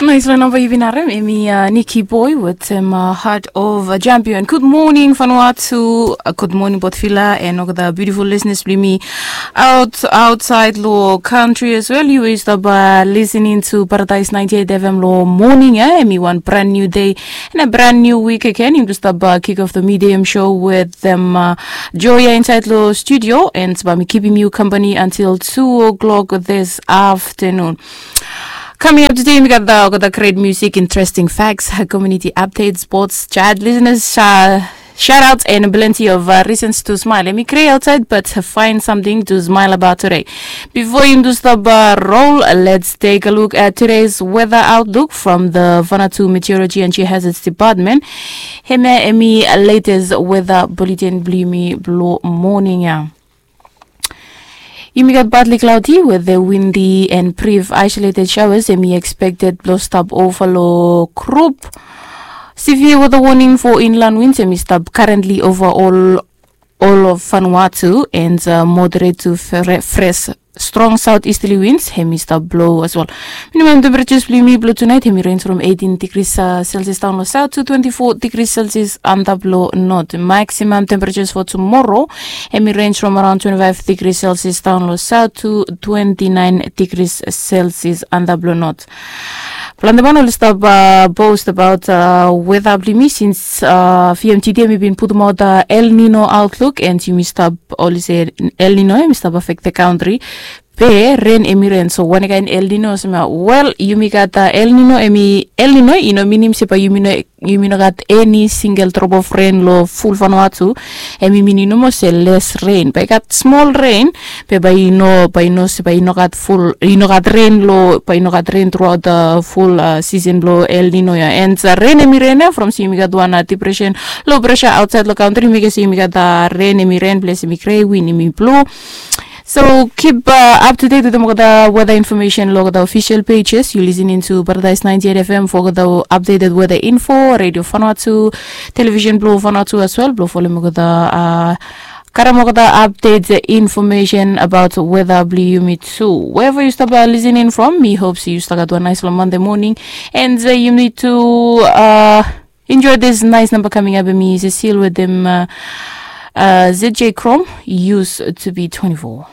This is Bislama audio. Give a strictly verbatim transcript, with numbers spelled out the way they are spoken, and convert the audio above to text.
Nais long namba yu bin harem, emi Niki Boy wetem Heart of a Champion. Good morning Vanuatu, good morning Port Vila, and olgeta beautiful listeners blong yumi out outside long country as well. You is stop listening to Paradise ninety-eight F M long morning, yeah? Emi one brand new day and a brand new week again. Yumi stop kick off the medium show with them Joya inside long studio, and ba mi keeping you company until two o'clock this afternoon. Coming up today, we got the, got the great music, interesting facts, community updates, sports, chat, listeners, uh, shout outs, and plenty of uh, reasons to smile. Emi gray outside, but find something to smile about today. Before you do stop uh, roll, let's take a look at today's weather outlook from the Vanuatu Meteorology and Geohazards Department. Hemia emi latest weather bulletin blong yumi blong morning ya. Yumi gat partly cloudy with the windy and brief isolated showers emi expected blong stop over long group. Severe weather warning for inland winds emi stop currently over all all of Vanuatu and uh, moderate to fre- fresh strong southeasterly winds hemi stop blow as well. Minimum temperatures blong yumi blong tonight hemi range from eighteen degrees uh, Celsius down long south to twenty-four degrees Celsius under blong north. Maximum temperatures for tomorrow hemi range from around twenty-five degrees Celsius down long south to twenty-nine degrees Celsius under blong north. Planti man oli stap uh, post about uh, weather blong yumi since uh, V M T D hemi bin putum out uh, El Nino outlook and yumi stap oli se El Nino hemi stap affect the country. Be ren emi ren so wane kain El Nino olsem ya, wel yumi gat uh, El Nino emi El Nino i no minim se bae yumi no yumi no gat eni singel drop of ren long ful Vanuatu. Emi minim nomo se les ren bae i gat smol ren, be bae i no bae i no se bae i no gat ful i no gat ren long bae i no gat ren truaot ful sisen blong El Nino ya. And ren emi ren ya from se yumi gat wan depression, low pressure outside long country mekem se yumi gat ren emi ren ples emi gre win emi blu. So keep uh, up to date with them with the weather information log the official pages. You're listening to Paradise ninety-eight F M for the updated weather info, Radio Vanuatu, television blue Vanuatu as well. Blue follow me with the uh, karamok the updates information about weather blue yumi too. Wherever you stop uh, listening from, me hopes you start got a nice long Monday morning, and uh, you need to uh, enjoy this nice number coming up. Me is a seal with them uh, uh, Z J Chrome used to be twenty-four.